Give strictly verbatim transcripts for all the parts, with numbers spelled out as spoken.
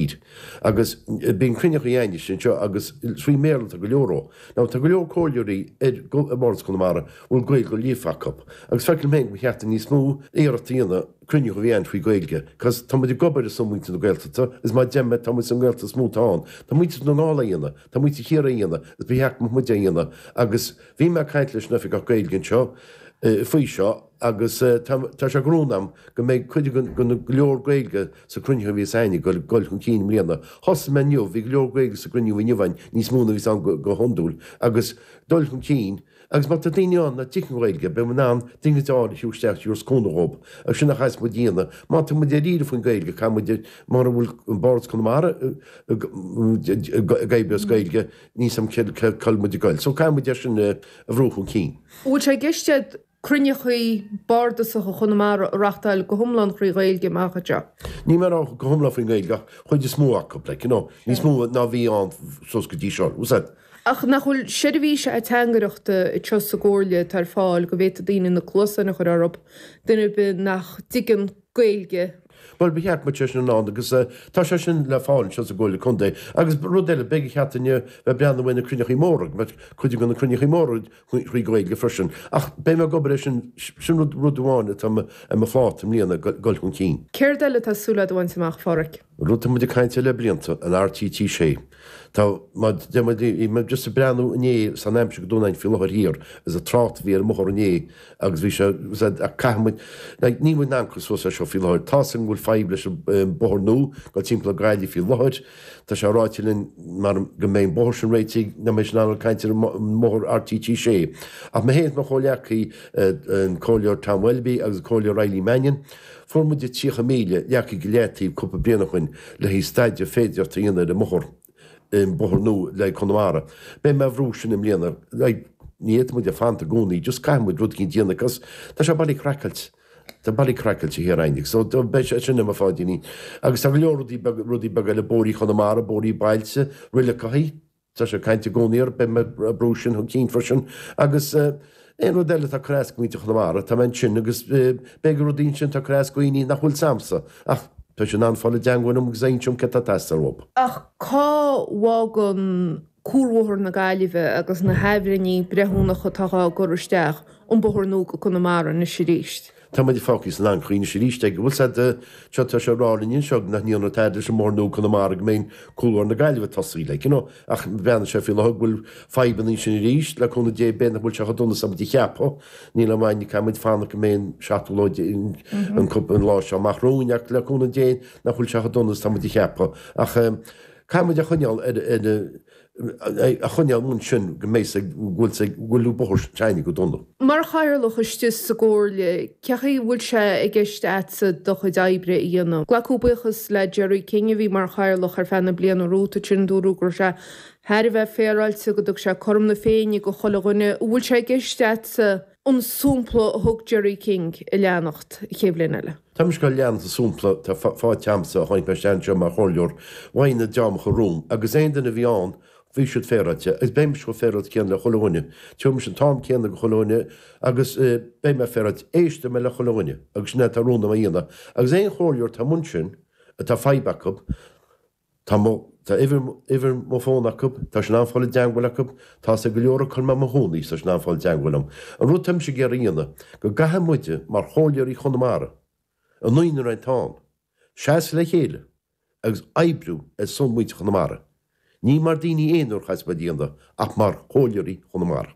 tír. Agus bíonn cruinnithe againn anseo agus trí Bhéarla tá go leor ó. Now tá go leor comhairleoirí ar i mBardas Chonamara bhfuil Gaeilge go líofa acu. Agus feicim féin go cheart níos mó iarracht a dhéanamh cruinniú a bheith faoi Gaeilge, 'cos tá muid ag obair ar son muintir na Gaeltachta, is má deim tá muid san Gaeltacht is mó atá ann. Tá muintir na nGall á dhéanamh, tá muintir Chiarraí á dhéanamh, is ba cheart muid a dhéanamh. Agus bhí mé ag caint leis an oifigeach Gaeilge anseo faoi seo agus tá sé rún agam go mbeidh cuid go leor Gaeilge sa cruinniú a bhí againn go dul chun cinn i mbliana. Thosaigh mé inniu, bhí go leor Gaeilge sa cruinniú inniu níos mó ná bhí ann go hiondúil agus dul chun cinn agus má tá daoine ann nach dtuigeann Gaeilge, beidh muid in ann daoine a isteach tabhairt cúnamh dóibh agus sin a chaithfidh muid a dhéanamh. Má tá muid ar iarraidh faoin Gaeilge ca muid mar a bhfuil an Bardas Conamara ag oibriú as Gaeilge níos am cul muid ag goil. So caithfidh muid é sin a bhrú chun cinn. Bhfuil sé i gceist cruinnithe bardasacha Chonamara a reáchtáil go hiomlán trí Ghaeilge amach anseo. Ní mar go hiomlán faoin Gaeilge ach chuid is mó acu like, you know, níos mó ná bhí ann suas go dtí seo. Úsáid. Ach nach bhfuil seirbhís ateangaireachta anseo sa gcomhairle atá ar fáil go bhféadfadh daoine na cluasáin a chur orthu duine bith nach dtuigeann Gaeilge. Well ba cheart sé sin ann agus tá sé sin le fáil anseo sa gComhairle Contae agus rud eile beidh cheart inniu bheith breathnú na cruinnithe móra, cuid na cruinnithe móra trí Ghaeilge freisin. Ach beidh mé ag obair sin sin rud rud amháin atá ar mo phláta i mbliana dul chun cinn. Céard eile tá súil agat a bhaint amach Phádraic? Rud muid ag caint le blianta an RTT sé. Tá mé just ag breathnú inné san aimsir go dúnain faoi láthair thiar is an trácht a bhí ar an mbóthar inné agus bhí sé caithfidh muid ní bhfuil an suas seo faoi láthair Tá an bhfuil fadhb leis an bóthar nua go timpeall Gaillimh faoi láthair Tá sé ráite linn mar go mbeidh bóthar sin réitithe na mé sin an caint ar mbóthar RTT sé. Ach mé féin mo chomhleacaí an Comhairleoir Tom Welby agus Comhairleoir Eileen Mannion, Fuair muid tríocha míle leagtha go leataobh cúpla bliain ó shin le haghaidh staidéar féideartha a dhéanamh ar an mbóthar an bóthar nua le Conamara. Beidh mé brú sin i mbliana ní fhéadfaidh muid a fanacht i gcónaí, just caithfidh muid rud éigin a dhéanamh cos tá sé bailí craiceáilte. Tá bailí craiceáilte thiar againn, so beidh sé sin i mo pháidíní. Agus tá go leor rudaí rudaí beaga eile bóithrí Chonamara, bóithrí bailte, roilleachaí, Tá sé caint i gcónaí ar beidh mé brú sin chun cinn freisin agus aon rud eile atá cur as do mhuintir Chonamara, tá mé ansin agus beidh rudaí ansin tá cur as do dhaoine nach bhfuil s'agamsa ach tá sé in ann fáil i dteagmháil liom agus inseoidh cad tá teastáil uathu. Ach cá bhfágann cuarbhóthar na Gaillimhe agus na hathbhreithnithe breithiúnacha atá á gcur isteach an bóthar nua go Conamara anois arís? Tá muid fágtha san anchaoi anois arís ag bhfuil said seo tá sé rá linn anseo nach ndéanann tada leis an mbóthar nua Conamara go mbeidh cuarbhóthar na Gaillimhe tosaí like, you know, ach breathnaíonn sé faoi láthair go bhfuil fadhbanna ansin arís le cúnamh Dé b'fhéidir nach bhfuil sé chomh dona is muid a cheapadh níl amháin caithfidh muid fanacht go mbeidh an seachtú lá an an lá seo amach romhainn ach le cúnamh Dé nach bhfuil sé chomh dona is tá muid a cheapadh ach caithfidh muid a choinneáil ar ar a choinneáil ansin go mbeidh go bhfuil go bhfuil bóthar s'againne go dona. Mar chathaoirleach istigh sa gcomhairle, cén chaoi a bhfuil sé i gceist agatsa do chuid oibre a dhéanamh. Glacadh buíochas le Jerry King a bhí mar chathaoirleach ar feadh na bliana romhat sin dúradh go raibh sé thar a bheith féaráilte go dtug sé cothrom na Féinne do chuile dhuine. An bhfuil sé i gceist agatsa an sampla a thug Jerry King a leanacht an chéad bhliain eile. Tá mise ag leanacht an sampla tá faighte agamsa a tháinig mé isteach anseo mar chomhairleoir bhain na deámacha romham agus aon duine a bhí ann bhí siad féaráilte agus beidh mise chomh féaráilte céanna le chuile dhuine. Tabharfaidh mise an t-am céanna do chuile dhuine agus beidh mé féaráilte éistfidh mé le chuile dhuine agus sin é atá rún agam a dhéanamh agus aon chomhairleoir atá amuigh ansin atá fadhb acu Tá mo, tá uimhir, uimhir mo fón acu, tá sé in ann fáil i dteangmháil acu, tá sé go leor acu mar mo chónaí, tá sé in ann fáil i dteangmháil liom. An rud táimse ag iarraidh a dhéanamh, go gcaithfidh muide mar chomhairleoirí Chonamara, an naonúr atá ann, seasamh le chéile agus oibriú ar son muintir Chonamara. Ní mar daoine aonair a chaithfeas muid a dhéanamh ach mar chomhairleoirí Chonamara.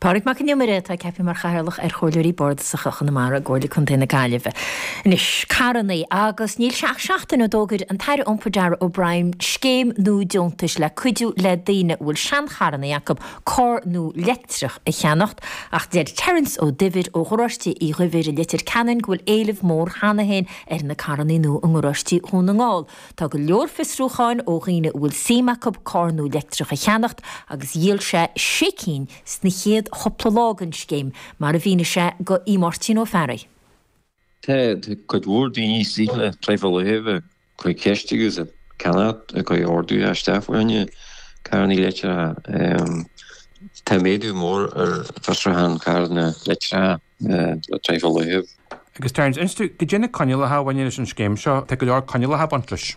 Pádraig Mac an Iomaire atá ceaptha mar chathaoirleach ar Chomhairleoirí Bardasacha Chonamara i gComhairle Contae na Gaillimhe. Anois, carrannaí agus níl sé ach seachtain ó d'fhógair an tAire Iompair Darragh O'Brien scéim nua deontais le cuidiú le daoine a bhfuil seancharrannaí acu carr nua leictreach a cheannacht ach deir Terence Ó Duibhir ó Gharáiste Uí Dhuibhir i Leitir Ceanainn go bhfuil éileamh mór cheana féin ar na carrannaí nua i ngaráistí Dhún na nGall. Tá go leor fiosrúcháin ó dhaoine a bhfuil suim acu carr nua leictreach a cheannacht agus dhíol sé sé cinn sna chéad chúpla lá den scéim, mar a mhínigh sé do Aodh Máirtín Ó Fearraigh. Tá cuid mhór daoine istigh le tráth fá láthair ag cur ceist agus ag ceannacht, ag cur ordú isteach fá choinne carranna leictreacha. Tá méadú mór ar fhiosrúchán carranna leictreacha le tráth fá láthair. Agus Terence, inis dúinn, goidé na coinníollacha a bhaineann leis an scéim seo, tá go leor coinníollacha ag baint leis.